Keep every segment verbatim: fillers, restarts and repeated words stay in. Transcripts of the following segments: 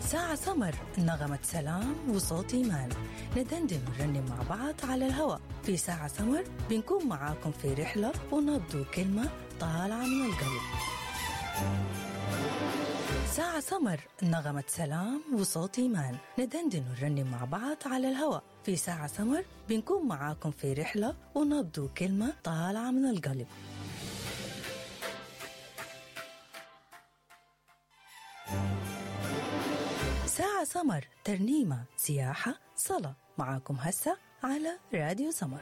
ساعة سمر، نغمة سلام وصوت إيمان، ندندن ونرنم مع بعض على الهواء في ساعة سمر. بنكون معاكم في رحلة ونبض وكلمة طالعة من القلب. ساعة سمر، نغمة سلام وصوت إيمان، ندندن ونرنم مع بعض على الهواء في ساعة سمر. بنكون معاكم في رحلة ونبض وكلمة طالعة من القلب. ساعة سمر، ترنيمة، سياحة، صلاة، معاكم هسه على راديو سمر.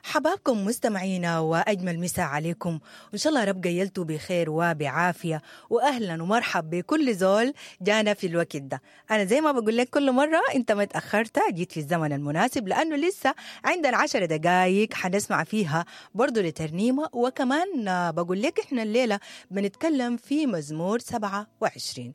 حبابكم مستمعينا، وأجمل مساء عليكم، وإن شاء الله رب قيلتوا بخير وبعافية. وأهلا ومرحب بكل زول جانا في الوقت ده. أنا زي ما بقول لك كل مرة، أنت ما تأخرت، جيت في الزمن المناسب، لأنه لسه عندنا عشر دقايق حنسمع فيها برضو لترنيمة. وكمان بقول لك إحنا الليلة بنتكلم في مزمور سبعة وعشرين،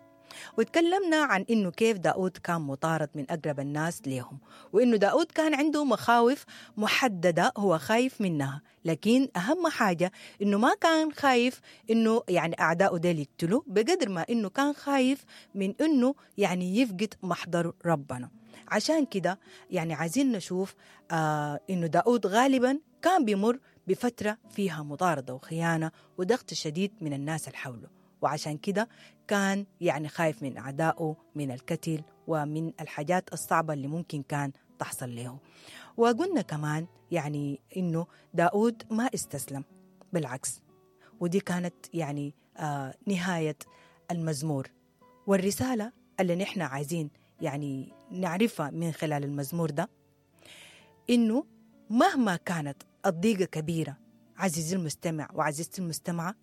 وتكلمنا عن إنه كيف داود كان مطارد من أقرب الناس ليهم، وإنه داود كان عنده مخاوف محددة هو خايف منها، لكن أهم حاجة إنه ما كان خايف إنه يعني أعداؤه ديل يقتلوه، بقدر ما إنه كان خايف من إنه يعني يفقد محضر ربنا. عشان كده يعني عايزين نشوف آه إنه داود غالبا كان بيمر بفترة فيها مطاردة وخيانة وضغط شديد من الناس اللي حوله، وعشان كده كان يعني خايف من أعدائه، من القتل، ومن الحاجات الصعبة اللي ممكن كان تحصل له. وقلنا كمان يعني إنه داود ما استسلم، بالعكس، ودي كانت يعني آه نهاية المزمور. والرسالة اللي نحن عايزين يعني نعرفها من خلال المزمور ده، إنه مهما كانت الضيقة كبيرة عزيزي المستمع وعزيزتي المستمعة،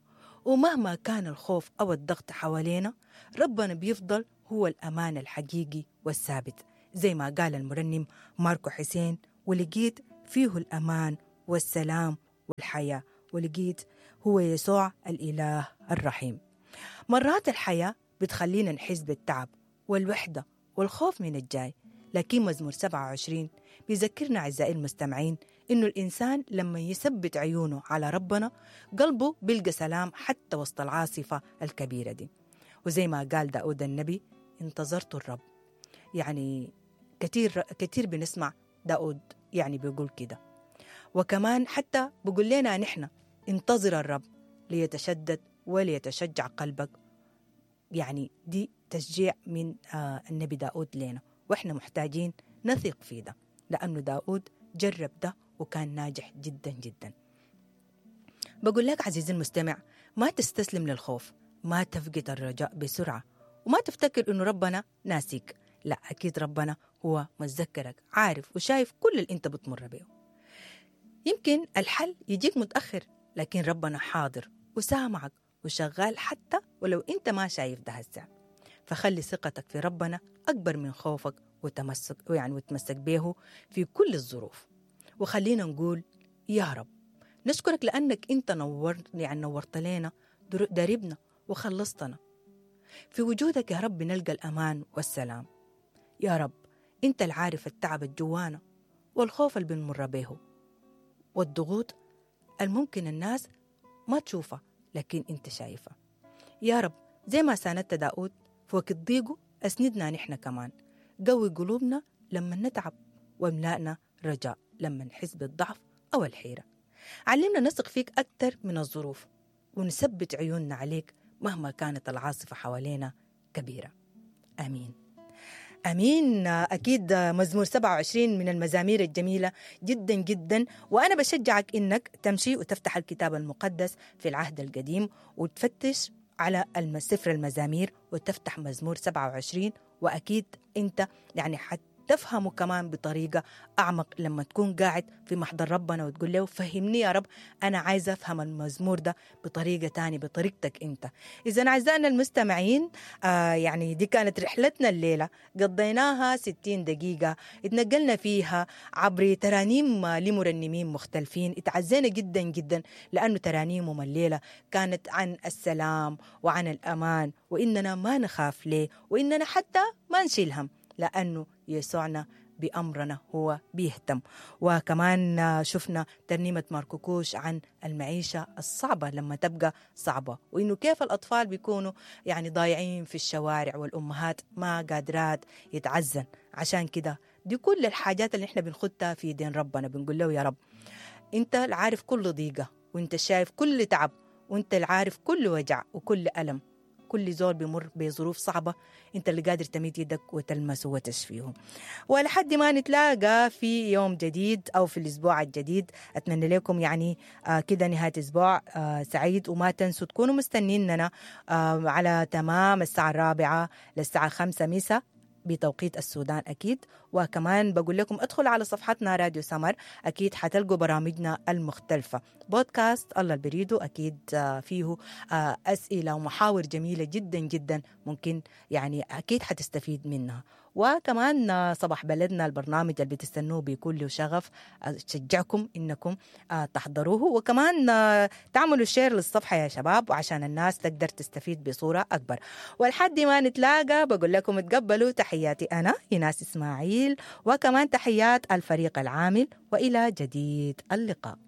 ومهما كان الخوف أو الضغط حوالينا، ربنا بيفضل هو الأمان الحقيقي والثابت، زي ما قال المرنم ماركو حسين: ولقيت فيه الأمان والسلام والحياة، ولقيت هو يسوع الإله الرحيم. مرات الحياة بتخلينا نحس بالتعب والوحدة والخوف من الجاي، لكن مزمور سبعة وعشرين بيذكرنا أعزائي المستمعين إنه الإنسان لما يثبت عيونه على ربنا قلبه بيلقى سلام حتى وسط العاصفة الكبيرة دي. وزي ما قال داود النبي: انتظرت الرب. يعني كتير كتير بنسمع داود يعني بيقول كده، وكمان حتى بيقول لنا نحن: انتظر الرب ليتشدد وليتشجع قلبك. يعني دي تشجيع من آه النبي داود لنا، وإحنا محتاجين نثق فيه ده، لأنه داود جرب ده وكان ناجح جدا جدا. بقول لك عزيزي المستمع، ما تستسلم للخوف، ما تفقد الرجاء بسرعة، وما تفتكر إنه ربنا ناسيك. لا، أكيد ربنا هو متذكرك، عارف وشايف كل اللي أنت بتمر به. يمكن الحل يجيك متأخر، لكن ربنا حاضر وسامعك وشغال حتى ولو أنت ما شايف ده هسه. فخلي ثقتك في ربنا أكبر من خوفك، وتمسك يعني وتمسك به في كل الظروف. وخلينا نقول يا رب نشكرك لأنك أنت نورت يعني نورت لنا دربنا وخلصتنا. في وجودك يا رب نلقى الأمان والسلام. يا رب أنت العارف التعب الجوانا والخوف اللي بنمر به والضغوط الممكن الناس ما تشوفها لكن أنت شايفها. يا رب زي ما ساندت داود في وقت ضيقه أسندنا نحن كمان، قوي قلوبنا لما نتعب واملأنا رجاء لما نحس بالضعف أو الحيرة. علمنا نثق فيك أكثر من الظروف ونثبت عيوننا عليك مهما كانت العاصفة حوالينا كبيرة. آمين أمين. أكيد مزمور سبعة وعشرين من المزامير الجميلة جدا جدا، وأنا بشجعك إنك تمشي وتفتح الكتاب المقدس في العهد القديم وتفتش على سفر المزامير وتفتح مزمور سبعة وعشرين، وأكيد أنت يعني حتفهمه كمان بطريقة أعمق لما تكون قاعد في محضر ربنا وتقول له فهمني يا رب، أنا عايزة أفهم المزمور ده بطريقة تانية، بطريقتك أنت. إذا أعزائنا المستمعين، آه يعني دي كانت رحلتنا الليلة، قضيناها ستين دقيقة اتنقلنا فيها عبر ترانيم لمرنمين مختلفين، اتعزينا جدا جدا لأنه ترانيمهم الليلة كانت عن السلام وعن الأمان، وإننا ما نخاف ليه، وإننا حتى ما نشيل هم، لأنه يسوعنا بأمرنا هو بيهتم. وكمان شفنا ترنيمة ماركوكوش عن المعيشة الصعبة لما تبقى صعبة، وإنه كيف الأطفال بيكونوا يعني ضايعين في الشوارع والأمهات ما قادرات يتعزن. عشان كده دي كل الحاجات اللي احنا بنخدها في دين ربنا، بنقول له يا رب انت العارف كل ضيقة، وانت شايف كل تعب، وانت العارف كل وجع وكل ألم، كل زول بيمر بظروف صعبة انت اللي قادر تميد يدك وتلمسه وتشفيه. ولحد ما نتلاقى في يوم جديد أو في الأسبوع الجديد، أتمنى لكم يعني آه كده نهاية أسبوع آه سعيد، وما تنسوا تكونوا مستنيننا آه على تمام الساعة الرابعة للساعة خمسة مساء بتوقيت السودان أكيد. وكمان بقول لكم ادخلوا على صفحتنا راديو سمر، أكيد حتلقوا برامجنا المختلفة، بودكاست الله البريدو أكيد فيه أسئلة ومحاور جميلة جدا جدا ممكن يعني أكيد حتستفيد منها. وكمان صباح بلدنا البرنامج اللي بتستنوه بكل شغف، أشجعكم إنكم تحضروه، وكمان تعملوا share للصفحة يا شباب وعشان الناس تقدر تستفيد بصورة أكبر. والحد ما نتلاقى بقول لكم تقبلوا تحياتي أنا إيناس إسماعيل، وكمان تحيات الفريق العامل، وإلى جديد اللقاء.